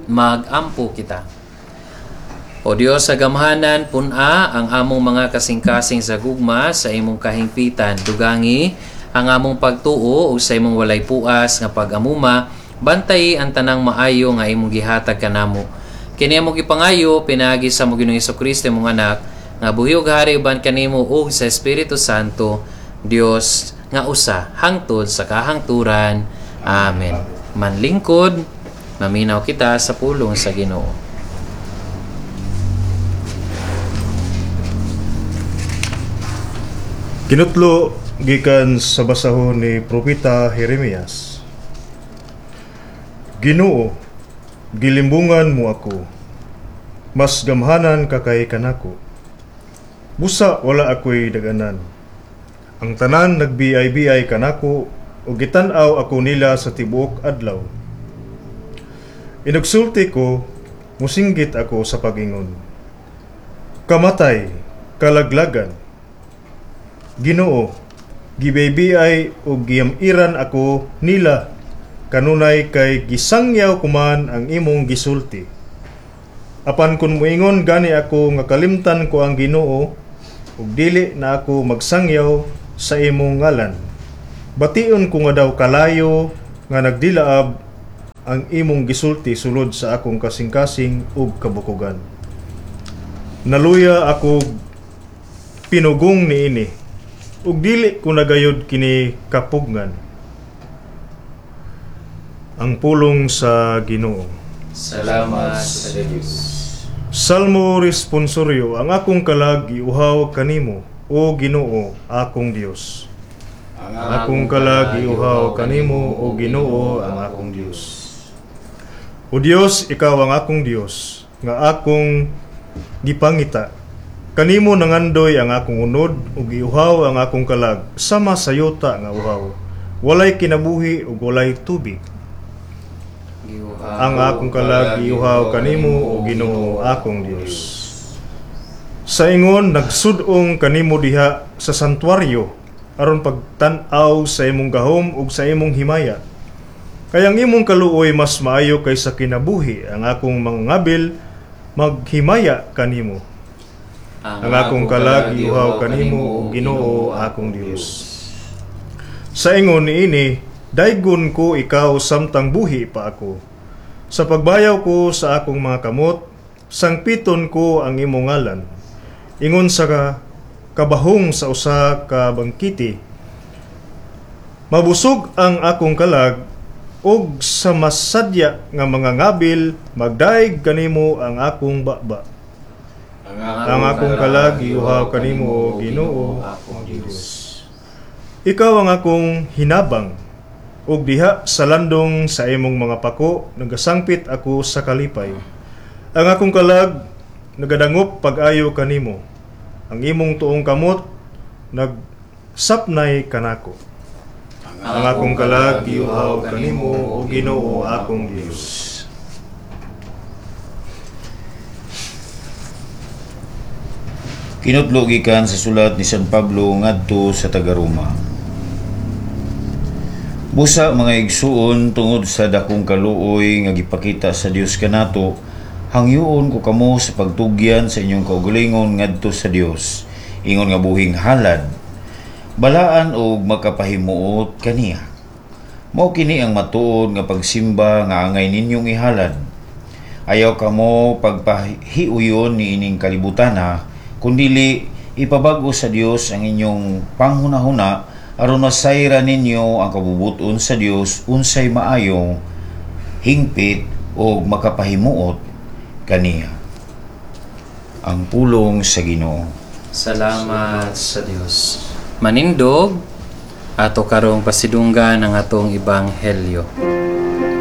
Magampo kita. O Dios sa gamhanan, pun-a ang among mga kasing-kasing sa gugma sa imong kahingpitan. Dugangi ang among pagtuo ug sa imong walay puas nga pag-amuma, bantayi ang tanang maayo nga imong gihatag kanamo. Kini among gipangayo pinaagi sa among Ginoong Hesukristo, imong anak, nga buhi ug hari uban kanimo ug sa Espiritu Santo, Dios nga usa hangtod sa kahangturan. Amen. Manlingkod, maminaw kita sa pulong sa Ginoo. Kinutlo gikan sa basahon ni Propeta Jeremias. Ginoo, gilimbungan mo ako. Mas gamhanan ka kay kanako. Busa wala ako'y daganan. Ang tanan nagbiay-biay kanako ug gitan-aw ako nila sa tibuok adlaw. Inugsulti ko, musinggit ako sa pag-ingon. Kamatay, kalaglagan. Ginoo, gibiay ug giyam-iran ako nila kanunay kay gisangyaw kuman ang imong gisulti. Apan kun moingon gani ako nga kalimtan ko ang Ginoo ug dili na ako magsangyaw sa imong ngalan, bation ko nga daw kalayo nga nagdilaab ang imong gisulti sulod sa akong kasing-kasing ug kabukogan. Naluya ako pinugong niini ug dili ko nagayod kini kapugngan. Ang pulong sa Ginoo. Salamat sa Dios. Salmo responsorio. Ang akong kalag giuhaw kanimo, o Ginoo, akong Dios. Ang akong kalag giuhaw kanimo, o Ginoo, ang akong Dios. O Dios, ikaw ang akong Dios, nga akong gipangita. Kanimo nangandoy ang akong unod ug giuhaw ang akong kalag, sama sa yuta nga uhaw. Walay kinabuhi ug walay tubig. Ang akong kalag giuhaw kanimo, o Ginoo, akong Dios. Sa ingon nagsud-ong kanimo diha sa santuaryo aron pagtan-aw sa imong gahom ug sa imong himaya. Kay ang imong kaluoy mas maayo kaysa kinabuhi, ang akong mga ngabil maghimaya kanimo. Ang akong kalag giuhaw kanimo, o Ginoo, akong Dios. Sa ingon niini, daygon ko ikaw samtang buhi pa ako. Sa pagbayaw ko sa akong mga kamot, sangpiton ko ang imong ngalan. Ingon sa kabahong sa usa ka bangkiti, mabusog ang akong kalag, ug sa masadya nga mga ngabil, magdaig kanimo ang akong baba. Ang akong kalag giuhaw kanimo, o Ginoo, akong Dios. Ikaw ang akong hinabang, ug diha sa landong sa imong mga pako nagasangpit ako sa kalipay. Ang akong kalag nagadangop pag-ayo kanimo. Ang imong tuong kamot nagsapnay kanako. Ang akong kalag giuhaw kanimo, o Ginoo, akong Dios. Kinutlo gikan sa sulat ni San Pablo ngadto sa taga-Roma. Busa mga igsuon, tungod sa dakong kaluoy nga gipakita sa Dios kanato, hangyoon ko kamo sa pagtugyan sa inyong kaugalingon ngadto sa Dios, ingon nga buhing halad, balaan og makapahimuot kaniya. Mao kini ang matuod nga pagsimba nga angay ninyong ihalad. Ayaw kamo pagpahiuyon niining kalibutana, kundili ipabag-o sa Dios ang inyong panghunahuna aron masayra ninyo ang kabubuton sa Dios unsay maayong hingpit og makapahimuot kaniya. Ang pulong sa Ginoo. Salamat sa Dios. Manindog ato karong pasidunggan ang atong ebanghelyo.